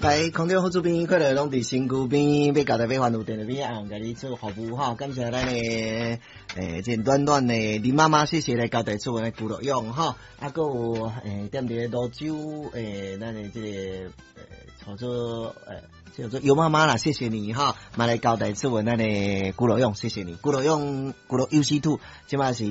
來空中好主編，快樂攏佇身軀邊，欲交代欲還有電話邊啊，共你做服務吼。感謝咱的這暖暖的林媽媽，謝謝來交代做的古樂用吼。啊，閣有踮佇咧蘆洲咱的這個叫做叫做尤媽媽啦，謝謝你哈，嘛來交代做咱的古樂用，謝謝你。古樂用古樂 UC2，這馬是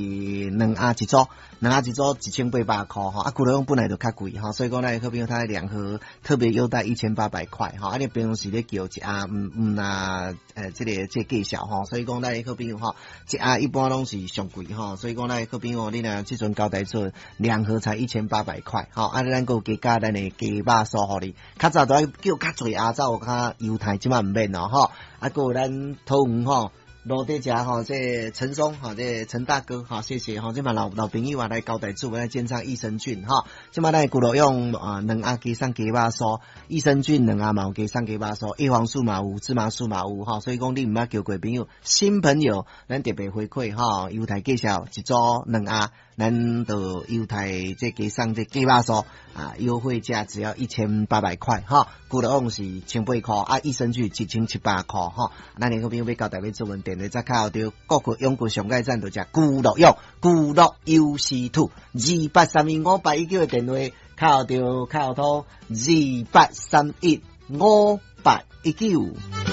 兩盒一組，兩盒一組1800箍吼。啊，古樂用本來就較貴吼，所以講咱的好朋友他兩盒特別優待1800塊吼。啊，你平常時咧叫一盒毋毋若這個介紹吼，所以講咱的好朋友吼，一盒一般攏是上貴吼，所以講咱的好朋友你若這陣交代做兩盒才一千八百塊吼，啊，咱閣有加價咱的雞肉酥予你，較早都愛叫較濟盒才有較優待，這馬毋免咯吼。啊，閣有咱桃園吼。羅底遮吼，這陳松吼，這陳大哥吼，謝謝吼，這馬老老朋友啊來交代做來健康益生菌吼，這馬咱的骨頭用啊兩盒加送雞肉酥，益生菌兩盒嘛有加送雞肉酥，葉黃素嘛有，芝麻素嘛有吼，所以講你毋捌叫過朋友，新朋友，咱特別回饋吼，優待介紹一組兩盒，咱就優待這加送這雞肉酥啊，優惠價只要一千八百塊哈，骨頭用是千八箍啊，益生菌1700箍吼，咱的好朋友欲交代欲做問電話再敲著國國永國上蓋站就食古樂用古樂 UC2 28315819的電話敲著敲通28315819。